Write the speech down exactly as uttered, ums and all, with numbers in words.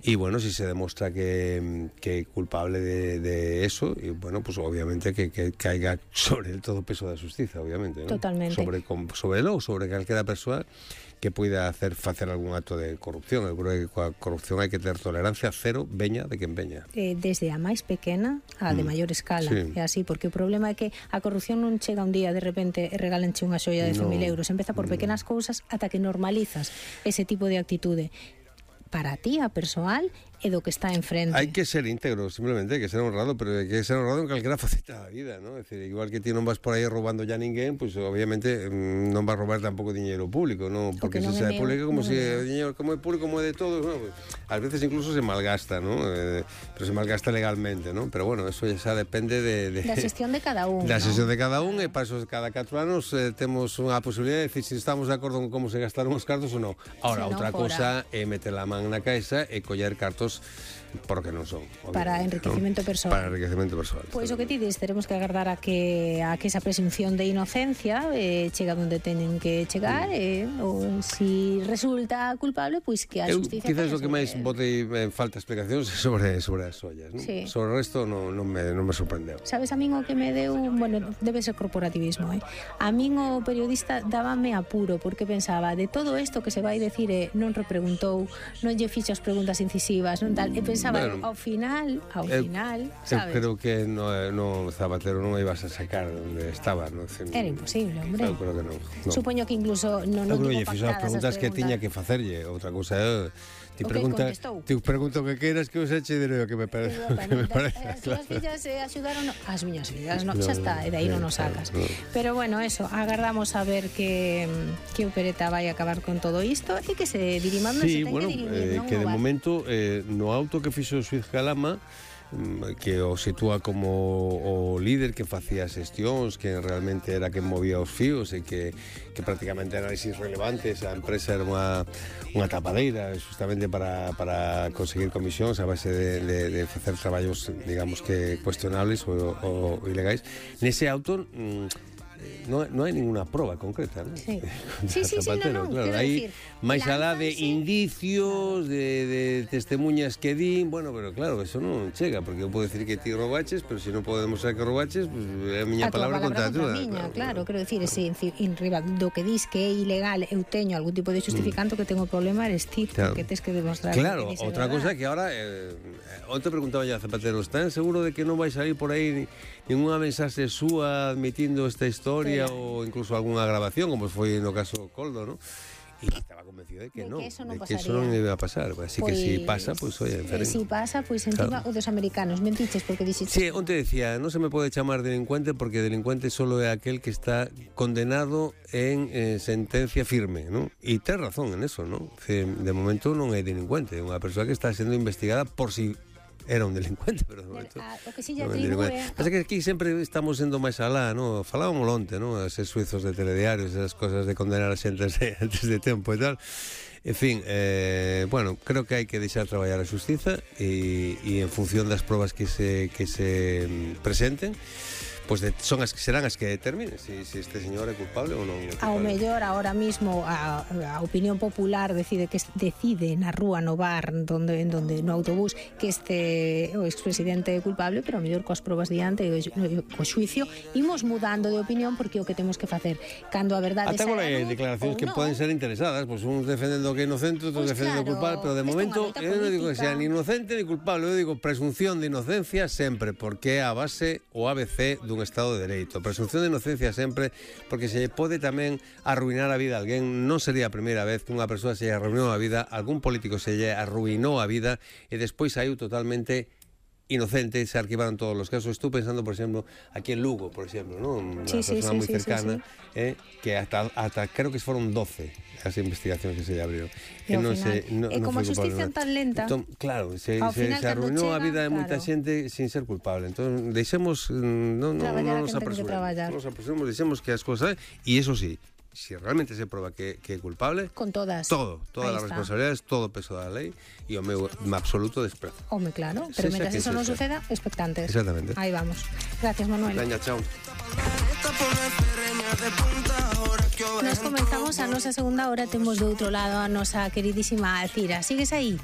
Y bueno, si se demuestra que, que culpable de, de eso, y bueno, pues obviamente que, que caiga sobre el todo peso da xustiza, obviamente, ¿no? Totalmente. Sobre, sobre lo, sobre calquera persoa que pueda hacer facer algún acto de corrupción. Eu creo que coa corrupción hai que ter tolerancia cero, veña de quen veña. Eh, desde a máis pequena a de mm. maior escala, sí. É así, porque o problema é que a corrupción non chega un día de repente e regálanche unha xoia de cen mil euros, empeza por pequenas cousas ata que normalizas ese tipo de actitude para ti, a persoal, e do que está enfrente. Hai que ser íntegro, simplemente, hai que ser honrado, pero hai que ser honrado en calquera faceta da vida, ¿no? É dicir, igual que ti non vas por aí roubando ya ninguén, pues obviamente non vas robar tampouco diñeiro público, ¿no? Porque se sea público, como se o diñeiro como é público, como é de todos, ¿no? Pues, ás veces incluso se malgasta, ¿no? Eh, pero se malgasta legalmente, ¿no? Pero bueno, eso xa depende de... de da xestión de cada un, Da ¿no? xestión de cada un, e para eso cada catro anos eh, temos unha posibilidad de decir se si estamos de acordo con como se gastaron os cartos ou non. Ahora, si outra no, cousa é meter a man na caixa e coller cartos porque non son, para enriquecimento, ¿no? Persoal. Para enriquecimento persoal. Pois pues o que ti dis, teremos que agardar a que a que esa presunción de inocencia eh, chega onde teñen que chegar, mm. eh, ou si resulta culpable, pois pues que a xusticia... Quizás o que máis botei en falta explicacións sobre sobre as ollas, ¿no? Sí. Sobre o resto non, non, me, non me sorprendeu. Sabes, a min o que me deu, bueno, debe ser corporativismo, eh? A min o periodista dábame apuro, porque pensaba, de todo isto que se vai decir, eh, non repreguntou, non lle fixo as preguntas incisivas, non tal, e pensaba, bueno, ao final, ao eu, final, sabes? Eu creo que no, no Zapatero non ibas a sacar onde estaba, non? Era imposible, hombre. Eu creo que non. No. Supoño que incluso non non tuvo pactadas as preguntas que tiña que facerlle, outra cousa é ti pregunta, ti pregunto que queiras que os eche e direi o que me parece. Que me parece. As túas fillas eh, axudaron, as miñas fillas, no, xa está, e de aí non nos sacas. No. Pero bueno, eso, agardamos a ver que que Opereta vai acabar con todo isto e que se diriman, sí, se ten bueno, que dirimir, eh, non? que de momento eh, no auto que fixo o xuíz Calama, que o sitúa como o líder que facía xestións, que realmente era quen movía os fíos e que, que prácticamente análisis relevantes, a empresa era unha, unha tapadeira justamente para, para conseguir comisións a base de, de, de facer traballos, digamos que cuestionables ou, ou ilegais. Nese auto mmm, No, non hai ninguna proba concreta, ¿no? Sí, sí, sí, sí, no, no, claro, hai máis alá de indicios, de, de testemunhas que din, bueno, pero claro, eso non chega, porque eu podo decir que ti robaches, pero se non podemos saber que robaches, pues, é a miña a palabra contra a túa. Claro, claro, quero decir, ese, en riba do que dis que é ilegal, eu teño algún tipo de justificante, mm. que tengo problema eres ti, claro. Que tes que demostrar. Claro, que outra cosa que ahora, eh, onte preguntaba ya a Zapatero, ¿están seguro de que non vai salir por aí ninguna mensaxe súa admitindo esta historia ou incluso algunha grabación, como foi no caso Coldo, ¿no? E estaba convencido de que non, de que eso non, de que eso non iba a pasar. Así pues, que si pasa, pues oye, eh, si pasa, pues encima claro. O dos americanos mentiches porque dixiste. Sí, onte decía, non se me pode chamar delincuente porque delincuente solo é aquel que está condenado en eh, sentencia firme, ¿no? E ten razón en eso, ¿no? De momento non é delincuente, é unha persoa que está sendo investigada por si era un delincuente, pero de momento a, o que si lle atribúe... Pasa que aquí sempre estamos sendo máis alá, ¿no? Falábamos onte, ¿no? Eses suizos de telediarios, esas cosas de condenar a xente antes de tempo e tal. En fin, eh, bueno, creo que hai que deixar traballar a xustiza e, e en función das probas que se, que se presenten, pues de, son as que serán as que determinen se si, si este señor é culpable ou non é culpable. Ao mellor ahora mismo a, a opinión popular decide que decide na rúa, no bar, donde en donde no autobús que este o expresidente é culpable, pero ao mellor coas probas diante e o xuicio imos mudando de opinión porque o que temos que facer cando a verdade ata agora hai declaracións que no. Poden ser interesadas, pois pues, uns defendendo que é inocente, outros pues defendendo claro, culpable, pero de momento eu non digo que sea ni inocente ni culpable, eu digo presunción de inocencia sempre, porque é a base o A B C dun Estado de Dereito. Presunción de inocencia sempre, porque se pode tamén arruinar a vida a alguén. Non sería a primeira vez que unha persoa se arruinou a vida, algún político se lle arruinou a vida e despois saiu totalmente inocente, se arquivaron todos los casos. Estou pensando, por exemplo, aquí en Lugo, por exemplo, ¿no? Una sí, persona sí, moi sí, cercana, sí, sí. Eh, que hasta, hasta creo que foron doce as investigacións que se lle abriron. E non se, no, e como a xusticia tan lenta, entón, claro, se, se, se arruinou a vida de moita claro. xente sin ser culpable. Entón, deixemos, non no, no, nos apresuremos, nos apresuremos, deixemos que as cosas, e eso sí, si realmente se proba que, que é culpable, con todas, todo, todas as responsabilidades, todo o peso da lei e o meu absoluto desprezo. Home, claro, pero se mentre eso non suceda, expectantes. Exactamente. Aí vamos. Gracias, Manuel. Veña, chao. Nos comenzamos a nosa segunda hora, temos do outro lado a nosa queridísima Alcira. Sigues aí?